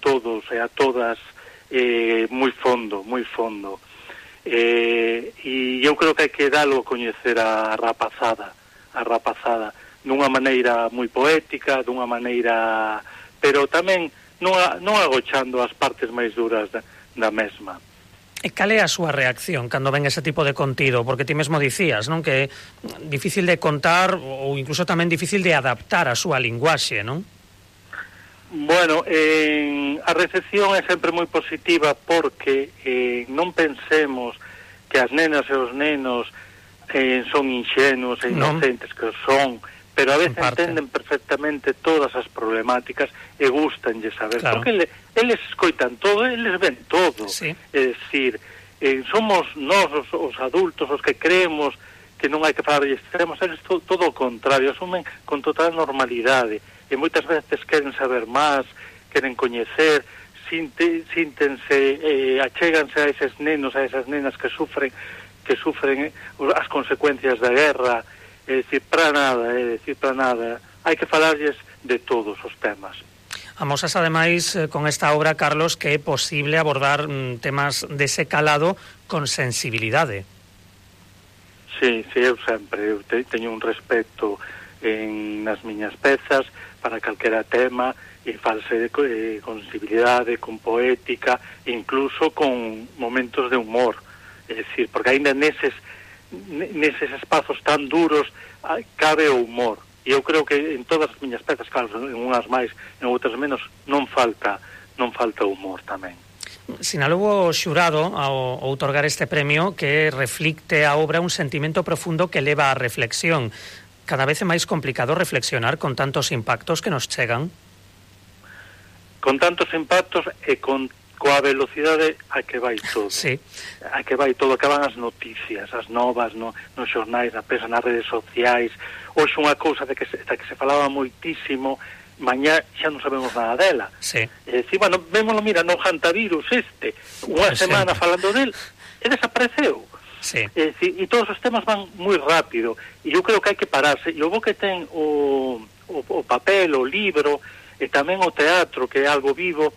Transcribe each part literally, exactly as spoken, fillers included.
todos e a todas eh, moi fondo, moi fondo. Eh, e eu creo que hai que dalo a coñecer a rapazada, a rapazada, dunha maneira moi poética, dunha maneira, pero tamén non, non agochando as partes máis duras da, da mesma. E cal é a súa reacción cando ven ese tipo de contido? Porque ti mesmo dicías, non? Que é difícil de contar ou incluso tamén difícil de adaptar a súa linguaxe, non? Bueno, eh, a recepción é sempre moi positiva porque eh, non pensemos que as nenas e os nenos eh, son inxenuos e inocentes, non, que son, pero a veces entenden perfectamente todas as problemáticas e gustanlle saber, claro, porque ele, eles escoitan todo, eles ven todo, sí. É dicir, eh, somos nós os, os adultos os que creemos que non hai que falar de extremos, eles to, todo o contrario, asumen con total normalidade e moitas veces queren saber máis, queren coñecer, sinte, síntense, eh, achéganse a eses nenos, a esas nenas que sufren que sufren eh, as consecuencias da guerra. É dicir, para nada, é dicir, para nada. Hai que falarlles de todos os temas. Amosas, ademais, con esta obra, Carlos, que é posible abordar mm, temas dese calado con sensibilidade. Sí, sí, eu sempre eu te, teño un respeto en nas miñas pezas para calquera tema e false eh, con sensibilidade, con poética, incluso con momentos de humor. É dicir, porque ainda neses neses espazos tan duros cabe o humor, e eu creo que en todas as miñas pezas, claro, en unhas máis, en outras menos, non falta non falta humor tamén. Sinalou o xurado ao outorgar este premio que reflicte a obra un sentimento profundo que leva á reflexión. Cada vez é máis complicado reflexionar con tantos impactos que nos chegan? Con tantos impactos e con coa velocidade a que vai todo. Sí. A que vai todo, que van as noticias, as novas no, nos xornais, na prensa, nas redes sociais. Hoxe unha cousa de que se, de que se falaba moitísimo, mañá xa non sabemos nada dela. Sí. É dicir, bueno, vémolo, mira, no hantavirus este, unha sí. semana falando del, e desapareceu. Sí. É dicir, e todos os temas van moi rápido, e eu creo que hai que pararse. E o bo que ten o, o, o papel, o libro, e tamén o teatro, que é algo vivo,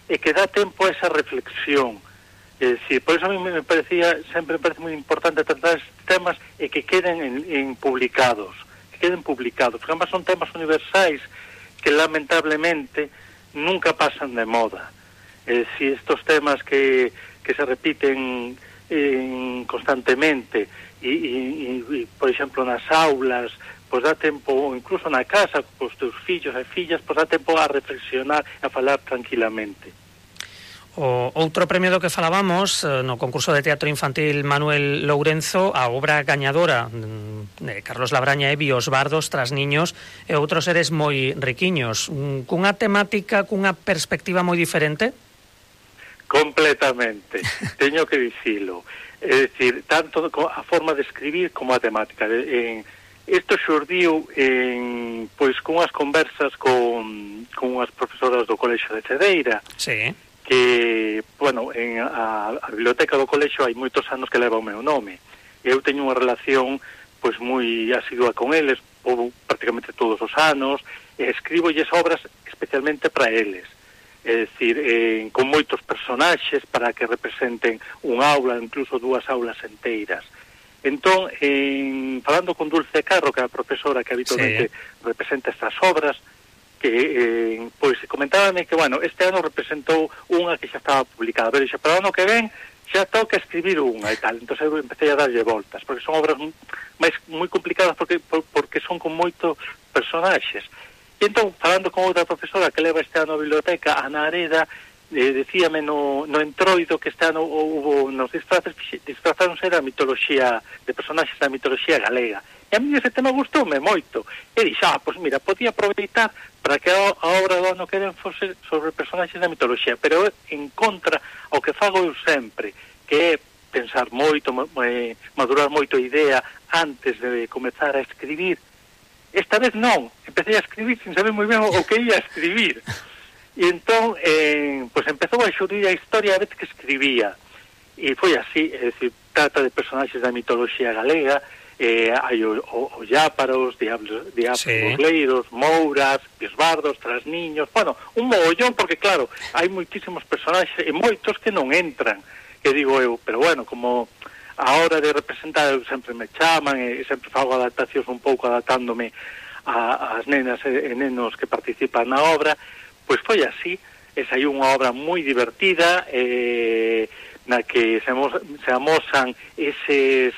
e que dá tempo a esa reflexión. É dicir, por eso a mí me parecía, sempre me parece moi importante tratar estes temas e que queden en, en publicados, que queden publicados, porque además son temas universais que lamentablemente nunca pasan de moda. É dicir, estos temas que, que se repiten en, constantemente e, e, e, por exemplo, nas aulas, pois dá tempo, incluso na casa, cos teus fillos e fillas, pois dá tempo a reflexionar e a falar tranquilamente. O outro premio do que falábamos no concurso de teatro infantil Manuel Lourenzo, a obra gañadora de Carlos Labraña é Bios Bardos tras niños e outros seres moi riquiños, cunha temática, cunha perspectiva moi diferente? Completamente, teño que dicilo. É dicir, tanto a forma de escribir como a temática. En isto xurdiu en, pois, cunhas conversas con, con unhas profesoras do Colexio de Cedeira, sí, que, bueno, en a, a biblioteca do colexio hai moitos anos que leva o meu nome. Eu teño unha relación, pois, moi asidua con eles, ou prácticamente todos os anos, e escribolles obras especialmente para eles. É dicir, eh, con moitos personaxes para que representen un aula, incluso dúas aulas enteiras. Entón, en, falando con Dulce Carro, que é a profesora que habitualmente sí. representa estas obras, que eh, pois comentábame que, bueno, este ano representou unha que xa estaba publicada, pero xa para o ano que ven xa toca escribir unha e tal. Entón eu empecé a darlle voltas, porque son obras máis moi complicadas porque por, porque son con moitos personaxes. E entón, falando con outra profesora que leva este ano a biblioteca, Ana Areda, eh, decíame no, no entroido que este ano hubo nos disfraces, disfrazáronse da mitoloxía, de personaxes da mitoloxía galega. E a mí ese tema gustoume moito. E dixo, ah, pois mira, podía aproveitar para que a, a obra do ano que ven fose sobre personaxes da mitoloxía, pero en contra ao que fago eu sempre, que é pensar moito, eh, madurar moito a idea antes de comezar a escribir. Esta vez non, empecé a escribir sin saber moi ben o que ia a escribir. E entón, eh, pois empezou a xurdir a historia a vez que escribía. E foi así, é dicir, trata de personaxes da mitoloxía galega, eh, hai o, o, o Lláparos, Diablos, Diablos Sí. Burleiros, Mouras, Biosbardos, Trasniños, bueno, un mogollón, porque claro, hai moitísimos personaxes e moitos que non entran, que digo eu, pero bueno, como a hora de representar eu sempre me chaman e sempre fago adaptacións un pouco adaptándome a, as nenas e, e nenos que participan na obra, pois foi así, e saiu unha obra moi divertida, eh, na que se, amos, se amosan eses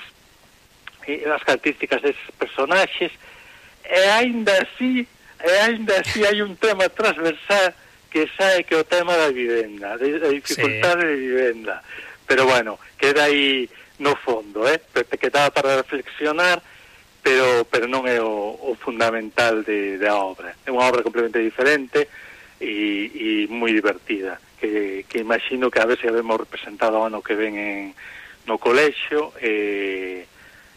as características deses personaxes, e aínda así e aínda así hai un tema transversal que sae que o tema da vivenda, da dificultade sí. de vivenda, pero bueno, queda aí no fondo, eh? te quedaba para reflexionar, pero pero non é o, o fundamental de, da obra. É unha obra completamente diferente e, e moi divertida, que, que imagino que a ver se habemos representado o ano que ven en, no colexio, e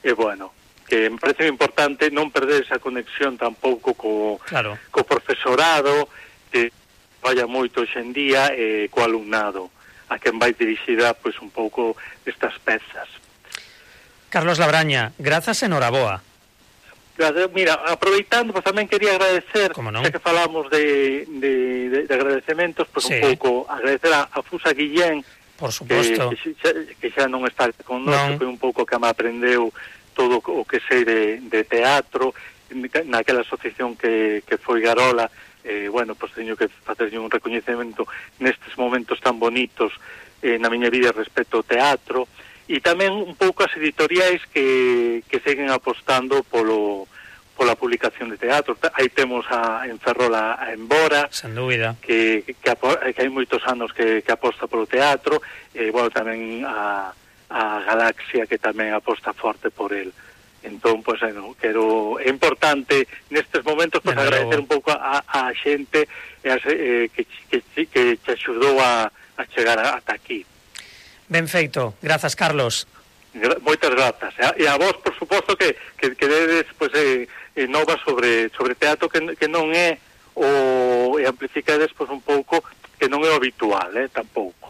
E, bueno, que me parece importante non perder esa conexión tampouco co, claro. co profesorado, que vaya moito hoxendía, e co alumnado, a quen vai dirixida pois, un pouco estas pezas. Carlos Labraña, grazas e noraboa. Mira, aproveitando, pues tamén quería agradecer, no? xa que falamos de, de, de, de agradecementos, pues sí. un pouco agradecer a, a Fusa Guillén, por suposto, que, que, xa, que xa non está con nós, foi un pouco que me aprendeu todo o que sei de, de teatro naquela asociación que, que foi Garola. Eh, bueno, pois pues, teño que facerlle un recoñecemento nestes momentos tan bonitos eh, na miña vida respecto ao teatro, e tamén un pouco as editoriais que, que seguen apostando polo pola publicación de teatro. Aí temos a, en Ferrol a, a Embora, sen dúbida, que, que, que hai moitos anos que, que aposta polo teatro, e, bueno, tamén a, a Galaxia, que tamén aposta forte por el. Entón, pois, pues, bueno, quero, é importante nestes momentos pues, agradecer un pouco a, a xente e a, eh, que, que, que te axudou a, a chegar ata aquí. Ben feito, grazas, Carlos. Gra moitas grazas. E a, a vos, por suposto, que, que, que dedes pues, eh, eh, novas sobre, sobre teatro que, que non é o... e amplificades pues, un pouco que non é o habitual, eh, tampouco.